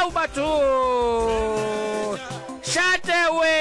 Ao batho! Šate we!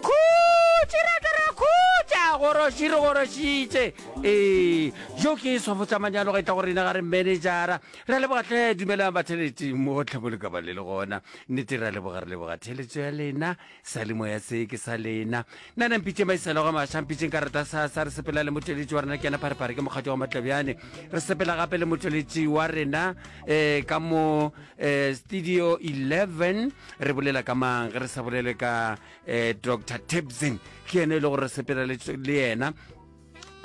Khutši rata ra khutša goroši re gorošitše. Ee, jo ke swafo tša manyalo ga e tla go rena ga re managera. Re a leboga hle dumelang batheletši mo gohle mo le ka ba le le gona. Nnete re a leboga re leboga theletšo ya lena. Sa le moya se ke sa lena. Nna na mpitše Maisela ga Maša, mpitšeng ka rata sa sa re sepela le motšweletši wa rena ke yena Pharephare ke mokgatšo wa Matlabjane. Re sepela gape le motšweletši wa rena eh, ka mo eh, studio 11 re bolela ka mang ge re sa bolele ka eh, Dr. Tebzin ke yena e le gore re sepela le le yena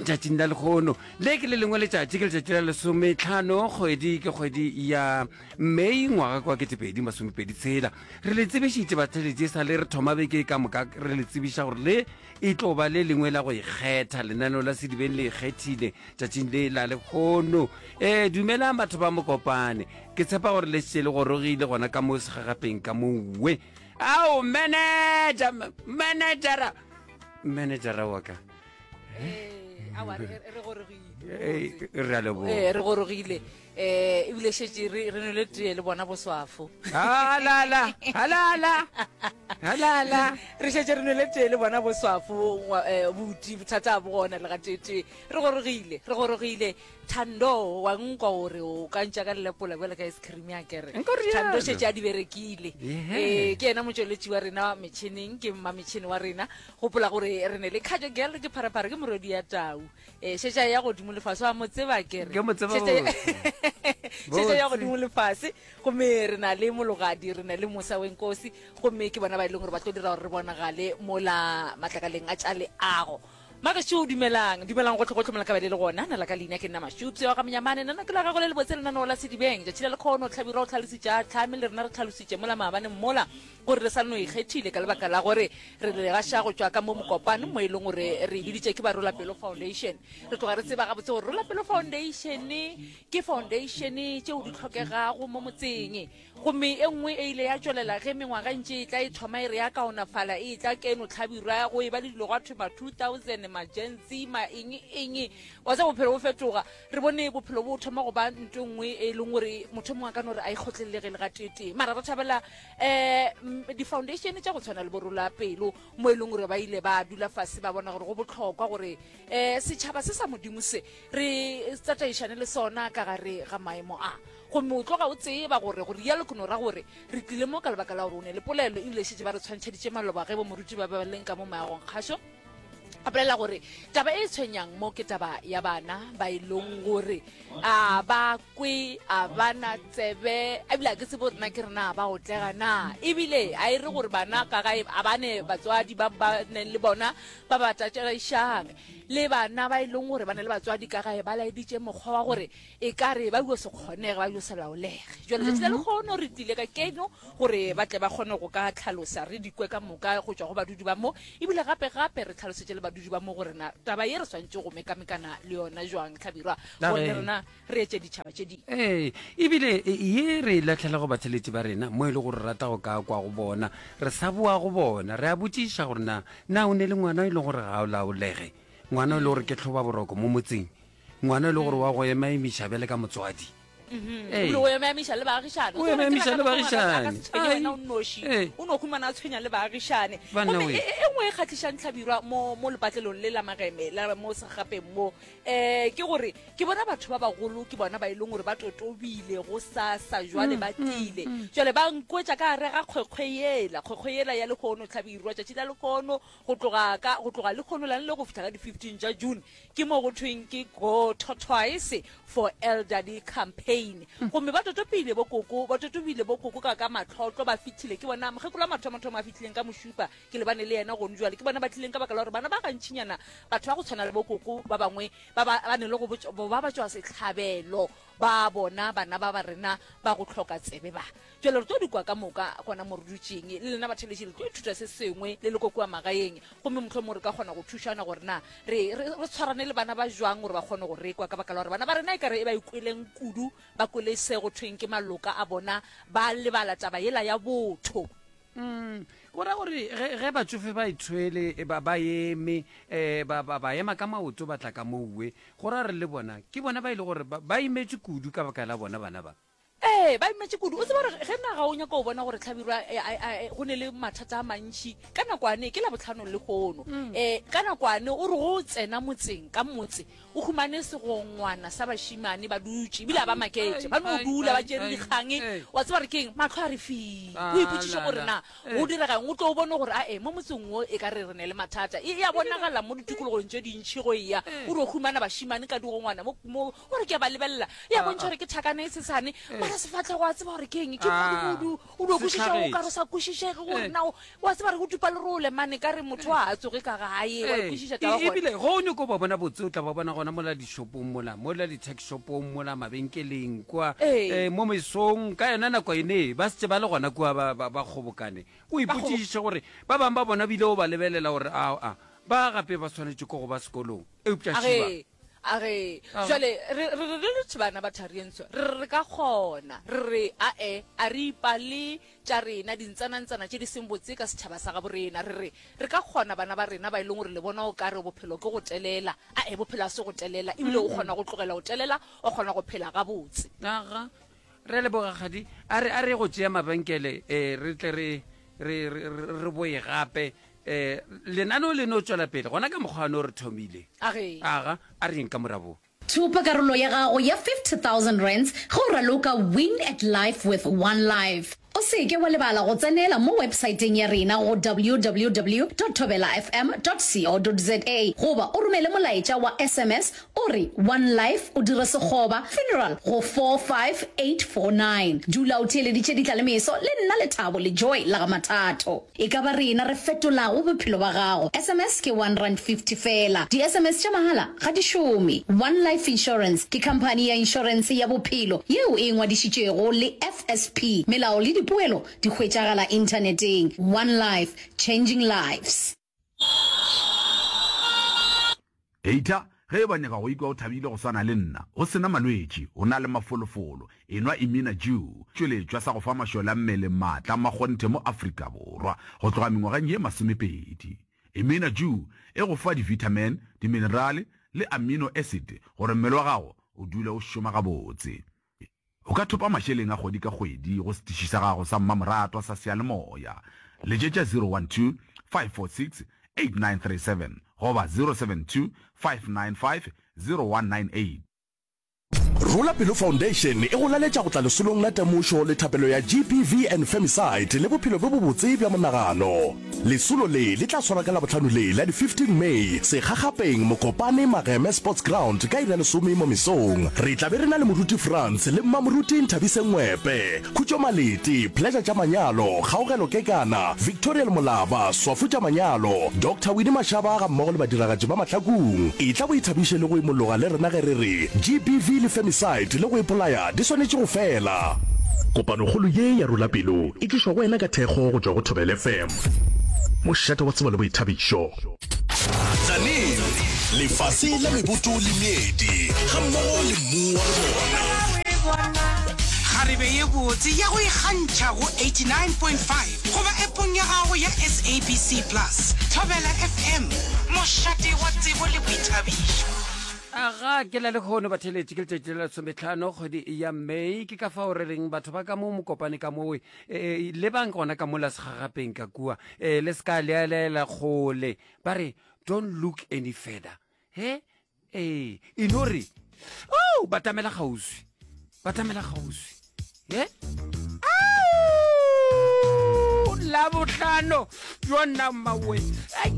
tšatšing la lekgono le ke le lengwe letšatši ke letšatši la lesometlhano kgwedi ke kgwedi ya mei ngwaga kwa ketepedi masomepedi tshela re le tsebišitše batheletši e sa le re thoma beke ka moka re le tsebiša gore le e tlo ba le lengwe la go ikgetha lenaneo la sedibeng le ikgethile tšatšing le la lekgono ee dumelang batho ba mokopane ke tshepa gore le šetše le gorogile gona ka mo segagapeng ka mowe ao manager managera managera wa ka re a leboga ee re gorogile um ebile šetše re re nwele tee le bona boswafo halala halala halala re šetše re nwele tee le bona boswafo eh, buti bothata bo gona le gateetee re gorogile re gorogile thando wa nkwa gore o ka ntša ka lelepola bjale ka ice cream ya kere Nka rialo. thando šetše a di berekile Yeah. ee ke yena motšweletši wa rena metšhineng ke mma metšhini wa rena Gopola gore re ne le Khajo Girl, ke pharephare, ke morwedi ya tau. E, šetša ya godimo le fase, wa mo tseba ke re. Ke mo tseba Šetša- botse. Šetša ya Botse. godimo le fase. Gomme re na le Mologadi, re na le Mosa Wenkosi, gomme ke bona ba e leng gore ba tlo dira gore re bonagale mola matlakaleng a tša leago. Magešo, dumelang, dumelang gohle gohle mola ka ba le le gona. Nna la ka leina ke nna Mashupse wa ga Monyamane, nna ke la gago le lebotse lenaneo la Sedibeng. Tšatši la lekhono, Hlabirwa o hlalositše a hlame, le rena re hlalositše mola maabane mola. Gore re sa no ikgethile ka lebaka la gore re le gaša go tšwa ka mo mokopano mo e leng gore re e biditše ke ba Rola Pelo Foundation. Re tloga re tseba gabotse gore Rola Pelo Foundation ke foundation tšeo di hlokegago mo motseng. Gomme e nngwe e ile ya tšwelela ge mengwaga e ntše e tla e thoma e re ya kaonafala e tla keno hlabirwa go e ba le dilo gwa thwe ma 2000 ma Gen Z ma eng eng wa tseba bophelo bo fetoga. Re bone bophelo bo thoma go ba nto e nngwe e leng gore motho mongwe a ka no re a e kgotlelelege le gateetee mara re thabela um di-foundation tša go tshwana le borola pelo mo e leng gore ba ile ba dula fase ba bona gore go botlhokwa gore um setšhaba se sa modimo se re tataišane le sona ka gare ga maemo a gomme o tloga o tseba gore gore rialo ke no ra gore re tlile mo ka lebaka la gore o ne le polelo ebile šetse ba re tshwantšheditše maloba ge bo moruti ba ba leng ka mo maagong kgašo a bolela gore taba e tshwenyang mo ke taba ya bana ba e leng gore a ba kwe a bana tsebe ebile a ke tsebe gore na ke rena ba otlega na ebile a e re gore bana ka gae a bane batswadi ba ba neng le bona ba ba tatšaišang le bana ba e leng gore ba na le batswadi ka gae ba laeditše mokgwa wa gore e ka re ba yo se kgonege ba yo se laolege jale tšatši la mhm. lekgono re tlile ka keno gore ba tle ba kgone go ka tlhalosa re dikwe ka moka go tšwa go badudi ba mo ebile gape gape re tlhalosetše le badudi ba mo gore na taba ye re swantše go mekamekana le yona jwang tlhabirwa gore le rena re etše ditšhaba tše dingwe ee ebile e, ye re e latlhela go batheletši ba rena mo e le gore rata go ka kwa go bona re sa boa go bona re a botšiša gore na na o ne le ngwana e le gore ga o laolege ngwana e le gore ke tlhoba boroko mo motseng ngwana e le gore wa go emaemiša bjale ka motswadi Mhm. Ee. O emaemiša le baagišane. O emaemiša le baagišane. Wena o nnoši. O no humana a tshwenya le baagišane. Gomme e, e nngwe e kgahlišang tlhabirwa mo mo lepatlelong le la Mageme la mo segapeng mo eh ke gore ke bona batho ba bagolo ke bona ba e leng gore ba totobile go sa sa jwale mm, ba mm, tlile mm. jwale ba nkwetša ka gare ga kgwekgwe yela kgwekgwe yela ya lehono tlhabirwa tšatši la lehono go tloga ka go tloga lehono lane le go fihla ka di-15 tša june Ke mo go thweng ke Go Tortoise for Elderly Campaign. Gomme ba totopile bo koko, ba totobile bo koko ka ka mahlotlo, ba fihlile. Ke bona mokgekolo wa mathomothomo a fihlileng ka mošupa, ke lebane le yena gone jwale. Ke bona ba tlileng ka baka la gore bana ba gantšinyana, batho ba go tshwana le bo koko ba bangwe ba ba, ba ne le go botšwa, ba ba tšwa sehlabelo ba bona bana ba ba rena ba go hloka tsebe ba. Bjale re tlo di kwa ka moka gona mo re dutšeng. Le lena batheeletši le tlo ithuta se sengwe le le ko kua magaeng, gomme mohlomongwe re ka kgona go thušana gore na re, re, re tshwarane le bana ba jwang gore ba kgone go re kwa, ka baka la gore bana ba rena e ka re e ba ikweleng kudu, ba kwele se go thweng ke maloka a bona, ba lebala taba yela ya botho. Mm, go ra gore ge, ge batšofe ba ithwele, ba, ba eme, eh, ba, ba, ba ema ka maoto ba tla ka mowe, go ra gore le bona, ke bona ba e le gore ba, ba imetšwe kudu ka baka la bona bana ba. Ee, ba imetše kudu. O tseba gore ge naga o nyaka go bona gore Hlabirwa e, a, a, e, go ne le mathata a mantši, ka nakwane, ke Labohlano lehono, um ka nakwane o re go tsena motseng, ka motse, o humane segongwana sa bašemane ba dutše, ebile a ba maketše, ba no dula ba tšere dikgang, wa tseba gore ke eng, mahlo a re fii. O ipotšiše gore na go direga eng, o tlo o bone gore ae, mo motseng wo e ka re re ne le mathata. E, e a bonagala mo ditikologong tše dintši go eya, o re o humana bašemane ka digongwana mo, mo, O re ke a ba lebelela, e a bontšha gore ke thakana e sesane, mara sefahlego a tseba gore ke eng, ke modumodu, o dio kwešiša o ka re sa kwešišege gore na wa tseba re go tupa lerole mane ka re motho a tsoge ka gae, wa kwešiša taba gona. Ebile go o nyoko ba bona botse o tla ba bona gona mola dishopong mola, mola di-tuck shopong mola mabenkeleng kua, mo mesong ka yona nako ene ba setse ba le gona kua ba, ba, ba kgobokane. O ipotšiše gore ba bangwe ba bona bile o ba lebelela gore a, ba gape ba swanetše ko go ba sekolong, eupša šiba. A re, Jwale, re, re, re le bana ba Tharientsho, re re re ka kgona. Re re, A-e, a re ipale tša rena, dintsanantsana tše di seng botse ka setšhaba sa gabo rena. Re re, re ka kgona bana ba rena ba e leng gore le bona o ka re bophelo ke go telela. A-e, bophelo ga se go telela. Ebile o kgona go tlogela go telela, o kgona go phela gabotse. Aga, re a leboga, Kgadi. A re, a re go tšea mabenkele, eh, re tle re, re, re, re boye gape. Eh, lenaneo le no tšwela pele gona ka mokgwa no re thomile. Age. Aga, a re yeng ka morabo. Thopa karolo ya gago ya R50,000 ge o raloka Win at Life with One Life. O se ke wa lebala go tsenela mo websaeteng ya rena go www dot thobelafm dot co dot za goba o romele molaetša wa sms o re One Life o dire sekgoba funeral go 45849. Dula o theeleditše Ditlalemeso le nna Lethabo le Joy la ga Mathatho. E ka ba rena re fetolago bophelo ba gago. Sms ke R1.50 feela. Di-sms tša mahala ga di šome. One Life Insurance ke khamphani ya inšorense ya bophelo yeo e ingwadišitšego le FSP. Melao le dipoelo di hwetšagala inthaneteng. One Life, changing lives. Heita, ge e ba nyaka go ikwa o thabile go swana le nna, o se na malwetši, o na le mafolofolo, enwa Imina Dew, tšweletšwa sa go fa mašole a mmele maatla a makgonthe mo Afrika Borwa go tloga mengwageng ye masomepedi. Imina Dew e go fa di-vitamin, diminerale le amino acid gore mmele wa gago o dule o šoma gabotse. O ka thopa mašeleng a kgwedi ka kgwedi go setiši sa gago sa mmamoratwa sa seyalemoya. Letšetša 012 546 8937 goba 072 595 0198. Rola Pelo Foundation e go laletša go tla lesolong la temošo le thapelo ya GBV and Femicide le bophelo bjo bobotse bja monagano. Lesolo le le tla swarwa ka Labohlano le la di 15 May, Sekgakgapeng, Mokopane, Mageme Sports Ground ka iri ya lesome mo mesong. Re tla be re na le Moruti Frans le Mmamoruti Nthabiseng Ngwepe, Khutšo Malete, Pleasure tša Manyalo, Kgaogelo Kekana, Victoriel Molaba, Swafu tša Manyalo, Doctor Winnie Mashaba gammogo le badiragatši ba Mahlakung. Etla o ithabiše le go imologa le rena ge re re GBV le Femicide le go ipolaya di swanetše go fela. Kopanokgolo ye ya Rola Pelo e tlišwa go wena ka thekgo go tšwa go Thobela FM, mošate wa tsebo le boithabišo. Tzaneen, lefase la meboto le meedi gammogo le mmu wa lona. Kgarebe ye botse ya go ikgantšha go 89.5 goba appong ya gago ya SABC Plus. Thobela FM, mošate wa tsebo le boithabišo. Aga, ke la lehono batheeletši, ke letšatši la lesometlhano kgwedi ya May. Ke ka fao re reng batho ba ka mo Mokopane ka mowe, e, e, lebang gona ka mola segagapeng ka kua, e, le se ka lealela kgole. Ba re, don't look any further. He? Ee, e no re, oh, batamela kgauswi, batamela kgauswi. He? Au! Labohlano, yona mmawe. Ai!